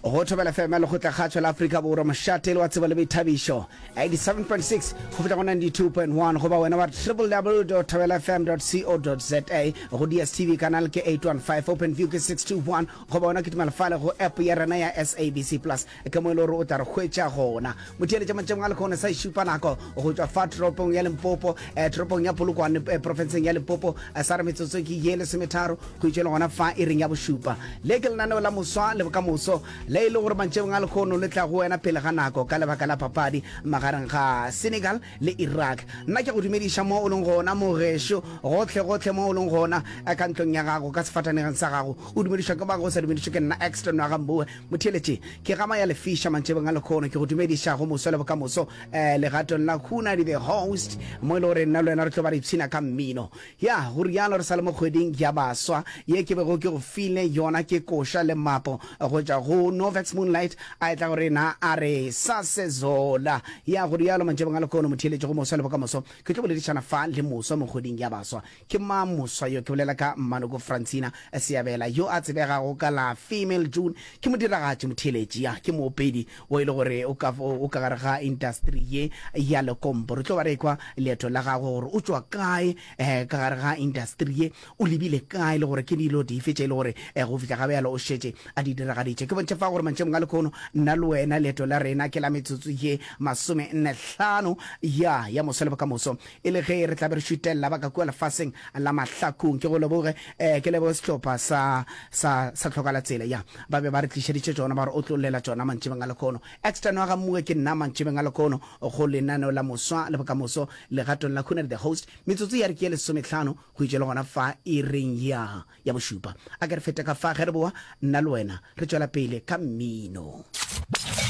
Go Thobela FM ya Lekgotlakgatšo la Afrika Borwa, mošate le wa tsebo le boithabišo, 87.6 go fihla go 92.1, goba wena wa www.thobelafm.co.za, go DSTV kanal ke 815, Openview ke 621, goba wena kitimela fale go app ya rena ya SABC Plus, ke mo e le gore o tla re hwetša gona. Motheeletša mantšebong a lekhono sa e šupa nako go tšwa fa toropong ya Limpopo, eh, toropong ya Polokwane, eh, profenseng ya Limpopo, eh, sa re metsotso ke ye lesometharo go itšwe le gona fa iring ya bošupa. Le ke lenaneo la moswa le bokamoso le e le gore mantšebong a lekhono le tla go wena pele ga nako ka lebaka la papadi magareng ga Senegal le Iraq. Nna ke go dumediša mo o leng gona mogešo, gohle gohle mo o leng gona, eh, ka ntlong ya gago, ka sefatanegeng sa gago, o dumedišwa ke mang o sa dumedišwe ke nna Exton wa ga Mbowe. Motheeletši, ke gama ya lefiša mantšebeng a lekhono, ke go dumediša go moso le bokamoso eh, legatong la Hunadi the host, mo e le gore nna le wena re tlo ba re ipshina ka mmino. Ya, go rialo re sa le mo kgweding ya baswa ye ke bego ke go file yona ke koša le mapo go tšwa go Novex Moonlight a etla go rena a re Sasezola. Ya, go rialo mantšebeng a lekhono, motheeletši go moso le bokamoso, ke tlo boledišana fa le moswa mo kgweding ya baswa. Ke mang moswa yo? Ke bolela ka Mmanoko Francina Seabela yo a tsebegago ka la Female June. Ke modiragatši, motheeletši, ya, ke moopedi wo e le gore o ka, o ka gare ga industry ye ya lekompo. Re tlo ba re ekwa leeto la gagwe gore o tšwa kae eh, ka gare ga industry ye, o lebile kae le gore ke dilo dife tše e le gore eh, go fihla ga bjalo o šetše a di diragaditše. Ke bontšhe fa gore mantšebong a lekhono nna le wena leeto la rena ke la metsotso ye masomennehlano ya, ya moso le bokamoso. E le ge re tla be re šutelela ba ka kua lefaseng la mahlakong. Ke go leboge, eh, ke leboge sehlopha sa, sa, sa Tlhokalatsela. Ya, ba be ba re tlišeditše tšona, ba re otlollela tšona mantšibeng a lekhono. Extra Noaga Mmue ke nna mantšibeng a lekhono go lenaneo la Moswa le Bokamoso legatong la Khunadi the Host. Metsotso ya re ke ye lesomehlano go itše le gona fa iring ya, ya bošupa. A ke re fete ka fa ge re boa, nna le wena re tšwela pele ka mmino.